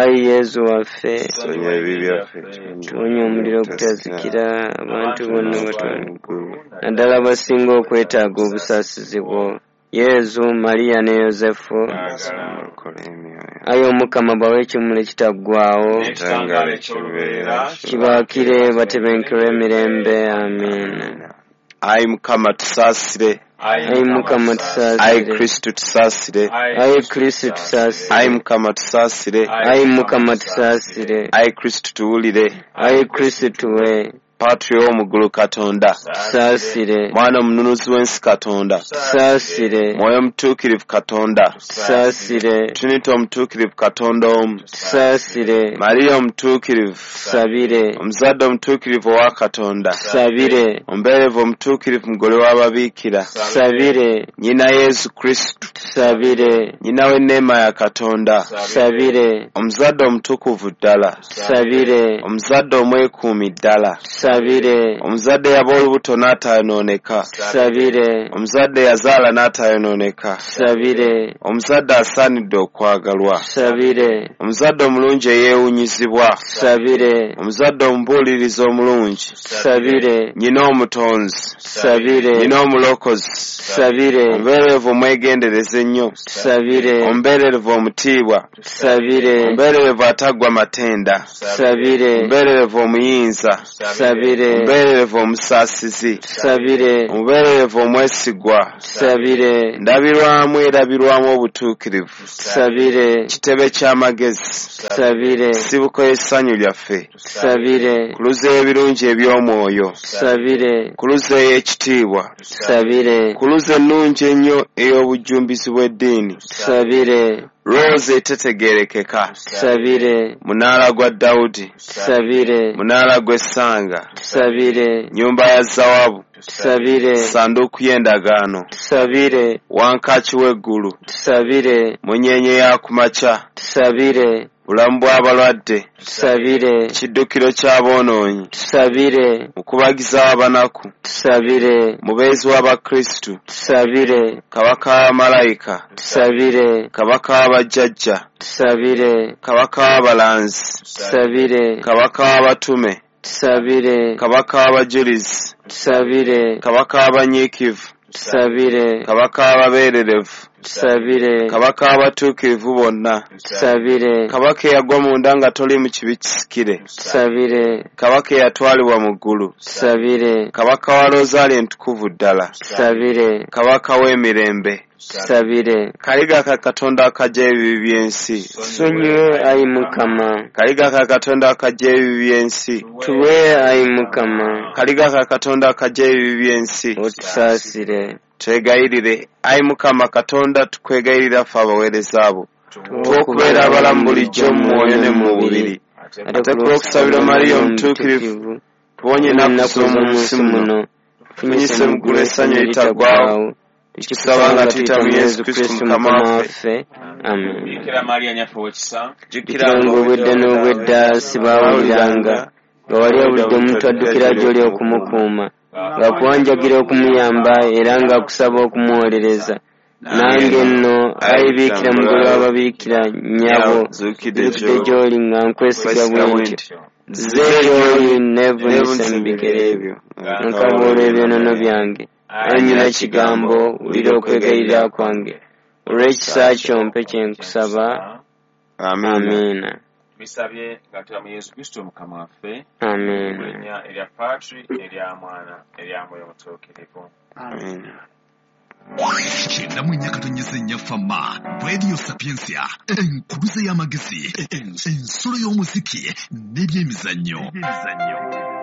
Ayi Yezu waffe, Tusonyiwe ebibi byaffe, tuwonye omuliro ogutazikira, abantu bonna batwale mu ggulu, naddala abasinga okwetaaga obusaasizi bwo. Yezu, Mariya ne Yozefu. Olokole emyoyo. Ayi Omukama bawe ekimuli ekitaggwaawo, N'ekitangaala eky'olubeerera kibaakire batebenkerwe emirembe. Amiina. Ayi Mukama tusaasire. Ayi Mukama Ayi tusaasire. Kristo tusaasire. Ayi Kristo tusaasire. Ayi Mukama tusaasire. Ayi Mukama tusaasire. Ayi Kristo tuwulire. Ayi Kristo tuwe. Patri ow'omu ggulu Katonda, Tusaasire. Mwana omununuzi w'ensi Katonda, Tusaasire. Mwoyo Omutuukirivu Katonda, Tusaasire. Trinity Omutuukirivu Katonda omu, Tusaasire. Mariya Omutuukirivu, Tusabire. Omuzadde Omutuukirivu owa Katonda, Tusabire. Omubeerevu Omutuukirivu mugole w'ababiikira, Tusabire. Nnyina Yesu Kristo, Tusabire. Nnyina w'enneema ya Katonda, Tusabire. Omuzadde Omutukuvu ddala, Tusabire. Omuzadde Omwekuumi ddala, Tusabire. Omuzadde yaba olubuto n'atayonooneka, Tusabire. Omuzadde yazaala n'atayonooneka, Tusabire. Omuzadde asaanidde okwagalwa, Tusabire. Omuzadde omulungi eyeewuunyizibwa, Tusabire. Omuzadde omubuulirizi omulungi, Tusabire. Nnyina omutonzi, Tusabire. Nnyina omulokozi, Tusabire. Omubeerevu omwegendereza ennyo, Tusabire. Omubeerevu omutiibwa, Tusabire. Omubeerevu ataggwa matenda, Tusabire. Omubeerevu omuyinza, Tusabire. Omubeerevu omusaasizi, Tusabire. Omubeerevu omwesigwa, Tusabire. Ndabirwamu erabirwamu obutuukirivu, Tusabire. Kitebe ky'amagezi, Tusabire. Nsibuko y'essanyu lyaffe, Tusabire. Kuluzi ey'ebirungi eby'omwoyo, Tusabire. Kuluzi ey'ekitiibwa, Tusabire. Kuluzi ennungi ennyo ey'obujjumbizi bw'eddiini, Tusabire. Rooza etetegeerekeka, Tusabire. Munaala gwa Dawudi, Tusabire. Munaala gw'essanga, Tusabire. Nnyumba ya Zawabu, Tusabire. Ssanduuku y'endagaano, Tusabire. Wankaaki w'eggulu, Tusabire. Munyeenye ya kumakya, Tusabire. Bulamu bw'abalwadde, Tusabire. Kiddukiro ky'aboonoonyi, Tusabire. Mukubagiza w'abanaku, Tusabire. Mubeezi w'Abakristu, Tusabire. Kabaka w'abamalayika, Tusabire. Kabaka w'abajjajja, Tusabire. Kabaka w'abalanzi, Tusabire. Kabaka w'abatume, Tusabire. Kabaka w'abajulizi, Tusabire. Kabaka w'abanyiikivu, Tusabire. Kabaka w'ababeererevu, Tusabire. Kabaka w'abatuukirivu bonna, Tusabire. Kabaka eyagwa munda nga toli mu kibi kisikire, Tusabire. Kabaka eyatwalibwa mu ggulu, Tusabire. Kabaka wa Rozaali entukuvu ddala, Tusabire. Kabaka w'emirembe, Tusabire. Kaliga ka Katonda akajja ebibi by'ensi, Tusonyiwe ayi Mukama. Kaliga ka Katonda akajja ebibi by'ensi, Tuwe ayi Mukama. Kaliga ka Katonda akajja ebibi by'ensi, Otusaasire. Twegayirire ayi Mukama Katonda, tukwegayirira ffe abaweereza bo, tuwe okubeera abalamu bulijjo mu mwoyo ne mu mubiri, ate ku lw'okusabira Mariya Omutuukirivu, tuwonye ennaku z'omu nsi muno, tufunyise mu ggulu essanyu eritaggwaawo, tukikusaba nga tuyita mu Yesu Kristo Mukama waffe. Amen. Bikira Maria nnyaffe ow'ekisa, Jjukira ng'obwedda n'obwedda sibaawuliranga, nga wali obudde omuntu addukira gy'oli okumukuuma, ng'akuwanjagira okumuyamba era ng'akusaba okumuwolereza. Nange nno ayi Biikira mugole w'ababiikira nnyabo, Zuukidde nzijukidde gy'oli nga nkwesiga bwe ntyo. Nzize gy'oli neevunise mu bigere byo, nkaba olw'ebyonoono byange. Ayi nnyina kigambo, wulira okwegayirira kwange. Olw'ekisa kyo mpe kye nkusaba. Amiina. Amiina. Tubisabye nga tuyita mu Yesu Kristo Mukama waffe. Mu Amiina. linnya erya Patri n'erya Mwana n'erya Mwoyo Mutuukirivu. Amiina. 94.4 Fama Radio Sapientia, enkuluze y'amagezi, ensolo y'omuziki n'ebyemizannyo.